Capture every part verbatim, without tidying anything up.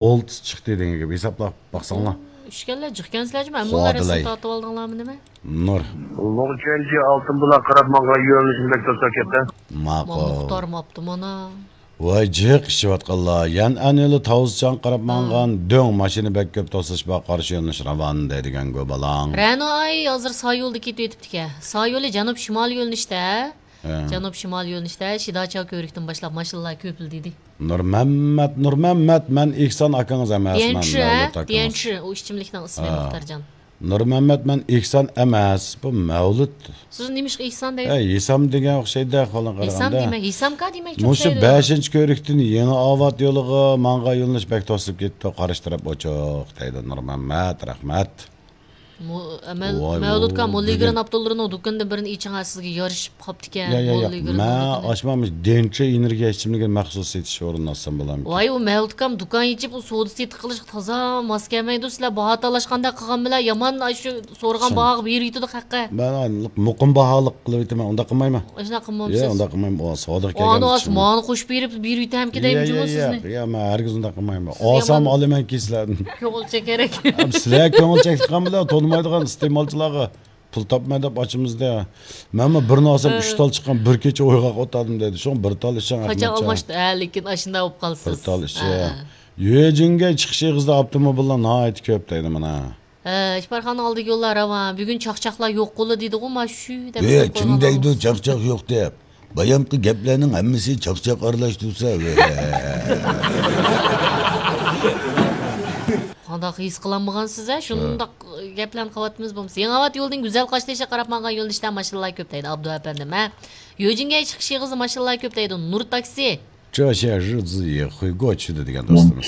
ئولتىس چىقتى دېگەن گەپ. ھېسابلاپ باقساڭلار. ئۈچكەنلەر جىقكەنسىلەرچۇ، مەن بۇلار رەسىم تارتىۋالدىڭلارمۇ نېمە؟ نۇر. لوڭچۈەنجى ئالتۇن بۇلاق قاراپ ماڭغان يۆنىلىشىنى بەك توساپ كەتتى. ماقۇل. مۇختار ماپتۇ مانا. ۋاي جىق ئىچىۋاتقانلار. يەنئەن يولى تاۋزىچاڭ قاراپ ماڭغان دۆڭ ماشىنا بەك كۆپ توسۇش بار، قارشى يۆنىلىش راۋان دەيدىگەنگۇ بالاڭ. رەنو ئاي ھازىر سايولدا كېتىۋېتىپتىكەن. سايولى جەنۇب شىمال يۆنىلىشتە. ھە. جەنۇب شىمال يۆنىلىشتە شىداچاۋ كۆۋرۈكتىن باشلاپ ماشىنىلار كۆپۈلدىدى. نۇرمەممەت، نۇرمەممەت، مەن ئېھسان ئاكىڭىز ئەمەسمەن، بيەنچى، ھە؟ مەۋلۇت ئاكىڭىز. بيەنچى، ئۇ ئىچىملىكنىڭ ئىسمى، ھە. مۇختارجان. نۇرمەممەت، مەن ئېھسان ئەمەس، بۇ مەۋلۇت. سىز نېمىشقا ئېھسان دەيدۇ؟ ھە، ھېسام دېگەن ئوخشايدۇ، قولۇڭ قارىغاندا. ھېسام دېمەك، ھېسامكا دېمەكچى ئوخشايدۇ. مۇشۇ بەشىنچى كۆۋرۈكتىن يېڭى ئاۋات يولىغا ماڭغان يۆنىلىش بەك توسۇلۇپ كېتىپتۇ، قارشى تەرەپ ئوچۇق دەيدۇ. نۇرمەممەت، رەھمەت. مۇ-، ئەمەل، ۋاي، مەۋلۇتكام، مۇ-، موللىگرىن ئابدۇللىنىڭ دۇكىنىدىن بىرنى ئېچىڭا، سىزگە يارىشىپ قاپتىكەن. يا، يا، يا. موللىگرىن مەن دۇكىنى. ئاچمامىش، دېنچە ئېنېرگىيە ئىچىملىكىنى مەخسۇس سېتىش ئورنىنى ئاچسام بولامدۇ؟ ۋاي، ئۇ مەۋلۇتكام دۇكان ئېچىپ، ئۇ سودا سېتىق قىلىشقا تازا ماس كەلمەيدۇ. سىلەر باھا تالاشقاندەك قىلغان بىلەن يامان ئاشۇ سورىغان باھاغا بېرىۋېتىدۇ خەققە. مەن مۇقىم باھالىق قىلىۋېتىمەن، ئۇنداق قىلمايمەن. ئاشۇنداق قىلمامسىز؟ يا، ئۇنداق قىلمايمەن. ئۇ سودىغا كەلگەن ئانا ئىچىملىك. مانا قوشۇپ بېرىپ بېرىۋېتەمكى دەيمىچۇمۇ سىزنى؟ يا، يا، مەن ھەرگىز ئۇنداق قىلمايمەن. سىز ئالسام يامان ئالىمەنكى سىلەردىن. كۆڭۈل چېكەر ئەكەن. سىلەر كۆڭۈل چەكلىك قىلغان بىلەن تونۇمايدىغان ئىستېمالچىلارغا پۇل تاپماي دەپ ئاچىمىزدە. مەنمۇ بىرنى ئالسام، ئۈچ تال چىققان، بىر كېچە ئويغاق ئولتۇردۇم دەيدۇ. شۇڭا بىر تال ئىچسەڭ، قاچان ئەخمەتجان. ئالماشتى؟ ھە، لېكىن ئاشۇنداق بولۇپ قالىسىز. بىر تال ئىچسەڭ. ھە، ھە. يۆجىنگەي چىقىش ئېغىزىدا ئاپتوموبىللار ناھايىتى كۆپ دەيدۇ مانا. ھە، ئىپارخانىنىڭ ئالدىدىكى يوللار راۋان. بۈگۈن چاقچاقلار يوق قولى دېدىغۇ، ما شۇ دەپ. ھە، كىم دەيدۇ چاقچاق يوق دەپ؟ بايامقى گەپلەرنىڭ ھەممىسى چاقچاق ئارىلاش تۇرسا. قانداق ھېس قىلالمىغانسىز ھە؟ شۇنداق گەپلەرنى قىلىۋاتىمىز بولمىسا. يېڭىئاۋات يولىدىن گۈزەل قاشتېشىغا قاراپ ماڭغان يۆنىلىشتە ماشىنىلار كۆپ دەيدۇ ئابدۇ ئەپەندىم ھە. يۆجىنگەي چىقىش ئېغىزى ماشىنىلار كۆپ دەيدۇ نۇر تاكسى. 这些日子也会过去的 دېگەن دوستىمىز.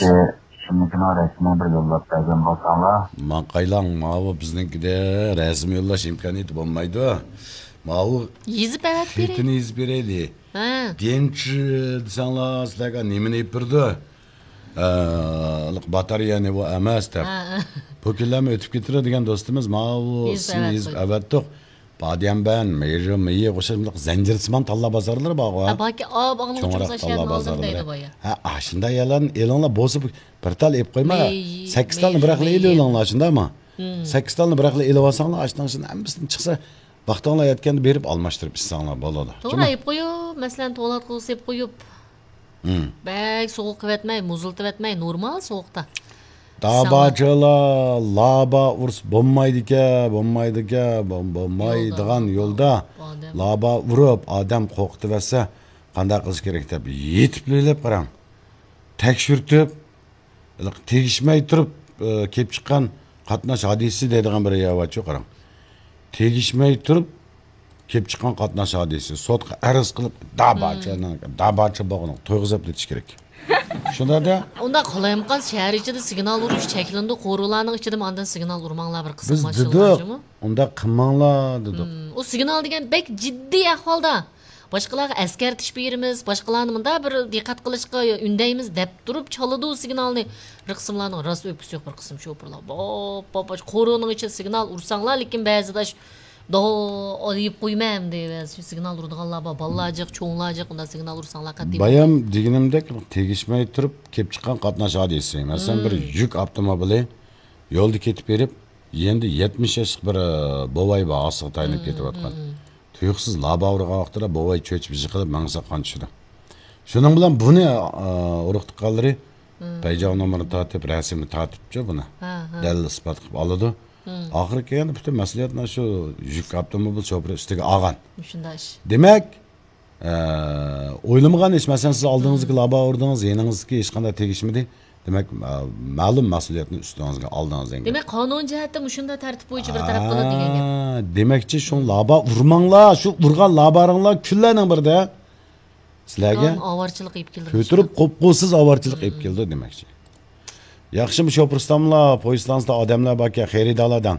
شۇنىڭكىنىڭ رەسىمىنى بىر يوللاپ بەرگەن بولساڭلار. ماڭقايلاڭ، ماۋۇ بىزنىڭكىدە رەسىم يوللاش ئىمكانىيىتى بولمايدۇ. ماۋۇ يېزىپ ئەۋەتىپ بېرەي. خېتىنى يېزىپ بېرەيلى. ھە. دىنچ دېسەڭلار، سىلەرگە نېمىنى يېپىپ بېرىدۇ؟ ئە، باتارېيەنى بۇ ئەمەس دەپ. ھە، ھە. بۇ كۈنلەرمۇ ئۆتۈپ كېتىدۇ دېگەن دوستىمىز ماۋۇ يېزىپ سىزنى ئەۋەتتۇق. يېزىپ ئەۋەتتۇق. باديەنبەن، مېيى، مېيى ئوخشاش بۇنداق زەنجىرسىمان تاللا بازارلىرى بارغۇ. ھە، باركى، ئا، باغنىڭ چوڭراق ئۇچۇرلۇق تاللا ئەشيانى ئالدىم بازارلىرى. دەيدۇ بايا. ھە، ئاشۇنداق يەرلەرنى ئېلىڭلار، بولسا بۇ بىر تال ئېلىپ قويما، مېيى، سەككىز تالنى مېيى، بىراقلا مېيى. ئېلىۋېلىڭلار، شۇنداقمۇ؟ ھىم. سەككىز تالنى بىراقلا ئېلىۋالساڭلار، ئاشۇنىڭ ئىچىدىن ھەممىسىدىن چىقسا، ۋاقتىڭلار يەتكەندە بېرىپ ئالماشتۇرۇپ ئىچسەڭلار بولىدۇ. توغرا، جۇمۇ. ئېلىپ قويۇپ، مەسىلەن، تولات قىلغۇسى ئېلىپ قويۇپ. ھىم. بەك سوغۇق قىلىۋەتمەي، مۇزلىتىۋەتمەي، نورمال سوغۇقتا. داباچىلار، لابا ئۇرسا بولمايدىكەن، بولمايدىكەن، بول-، بولمايدىغان يولدا، يولدا ئادەم. لابا ئۇرۇپ، ئادەم قورقۇتۇۋەتسە، قانداق قىلىش كېرەك دەپ يېتىپ ئويلاپ قاراڭ. تەكشۈرتۈپ، ھېلىقى تېگىشمەي تۇرۇپ، ئى، كېلىپ چىققان قاتناش ھادىسىسى دەيدىغان بىر يەر بارچۇ، قاراڭ. تېگىشمەي تۇرۇپ كېلىپ چىققان قاتناش ھادىسىسى. سوتقا ئەرز قىلىپ، داباچىنىڭ، داباچا بولغىنىغا تويغۇزۇپ ئېتىش كېرەك. شۇنداق دە. ئۇنداق قالايمىقان شەھەر ئىچىدە سىگنال ئۇرۇش چەكلىنىدۇ، قورۇلارنىڭ ئىچىدىمۇ ئاندىن سىگنال ئۇرماڭلار بىر قىسىم بىز ماشىنىلار دېدۇق، جۇمۇ. ئۇنداق قىلماڭلار دېدۇق. ھىم، ئۇ سىگنال دېگەن بەك جىددىي ئەھۋالدا. باشقىلارغا ئەسكەرتىش بېرىمىز، باشقىلارنى مۇنداق بىر دىققەت قىلىشقا ئۈندەيمىز دەپ تۇرۇپ چالىدۇ سىگنالنى. بىر قىسىملارنىڭ راست ئۆپكىسى يوق، بىر قىسىم شوپۇرلار. باپ، باپ، باپ، قورۇنىڭ ئىچىدە سىگنال ئۇرساڭلار، لېكىن بەزىدە ئاش-، داۋا دېيىپ قويمەن دەيمەن. سىگنال ئۇرىدىغانلار بار، بالىلار جىق، چوڭلار جىق، ئۇنداق سىگنال ئۇرساڭلار قەتئىي بايام دېگىنىمدەك تېگىشمەي تۇرۇپ كېلىپ چىققان قاتناش ھادىسىسى. مەسىلەن، بىر مم. يۈك ئاپتوموبىلى يولدا كېتىپ بېرىپ، يېنىدا يەتمىش ياشلىق بىر، ئە، بوۋاي بار، ھاسىغا تايىنىپ مم، كېتىۋاتقان. مم، مم. تۇيۇقسىز لابا ئۇرغان ۋاقتىدا بوۋاي چۆچۈپ يىقىلىپ مېڭىسى قان چۈشىدۇ. شۇنىڭ بىلەن بۇنى، ئە، ئۇرۇق تۇغقانلىرى مم. پەيجاڭ نومۇرىنى تارتىپ، رەسىمنى تارتىپچۇ بۇنى. ھە، ھە. دەلىل ئىسپات قىلىپ ئالىدۇ. مم. ئاخىرى كەلگەندە پۈتۈن مەسئۇلىيەتنى شۇ يۈك ئاپتوموبىل شوپۇرى ئۈستىگە ئالغان. مۇشۇنداق ئىش. دېمەك، ئە، ئويلىمىغان ئىش، مەسىلەن، سىز ئالدىڭىزدىكى مم. لابا ئۇردىڭىز، يېنىڭىزدىكى ھېچقانداق تېگىشمىدى. دېمەك، مە-، مەلۇم مەسئۇلىيەتنى ئۈستىڭىزگە ئالدىڭىز دېگەن گەپ. دېمەك، قانۇن جەھەتتە مۇشۇنداق تەرتىپ بويىچە بىر تەرەپ قىلىدۇ دېگەن گەپ. ھە، دېمەكچى، شۇ لابا ئۇرماڭلار، شۇ ئۇرغان لاباڭلار كۈنلەرنىڭ بىرىدە سىلەرگە ئاۋارىچىلىق ئېلىپ كېلىدۇ. كۆتۈرۈپ قوپقۇسىز ئاۋارىچىلىق ئېلىپ كېلىدۇ دېمەكچى. ياخشىمۇ شوپۇر ئۇستاملار، پويىز ئىستانسىدا ئادەملەر باركەن، خېرىدارلار دەڭ.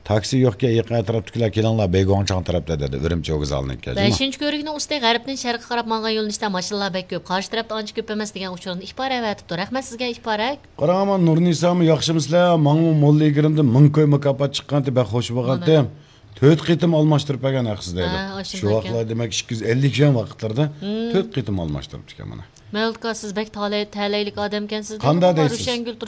تاكسى يوقكەن، يېقىن ئەتراپتىكىلەر كېلىڭلار، بېيگۇاڭچاڭ تەرەپتە دېدى، ئۈرۈمچى ۋوگزالىنىڭ كەجىما. بەشىنچى كۆۋرۈكنىڭ ئۈستى غەربتىن شەرققە قاراپ ماڭغان يۆنىلىشتە ماشىنىلار بەك كۆپ، قارشى تەرەپتە ئانچە كۆپ ئەمەس دېگەن ئۇچۇرنى ئىپارە ئەۋەتىپتۇ. رەھمەت سىزگە، ئىپارە. قاراڭ، ئامان نۇرنىسامۇ ياخشىمۇسىلەر؟ ماڭىمۇ موللا ئىگرىمدىن مىڭ كوي مۇكاپات چىققانتى، بەك خوش بولغانتى. مانا. تۆت قېتىم ئالماشتۇرۇپ بەرگەن ھەقسىز دەيدۇ. ھە، شۇ ئاشۇنداق ۋاقىتلار ئىكەن. دېمەك، ئىككى يۈز ئەللىك يۈەن ۋاقىتلىرىدا مم. تۆت قېتىم ئالماشتۇرۇپتىكەن مانا. مەۋلۇت ئاكا، سىز بەك تالەي تەلەيلىك ئادەمكەنسىز. قانداق دېدىم، دەيسىز؟ روشەنگۈل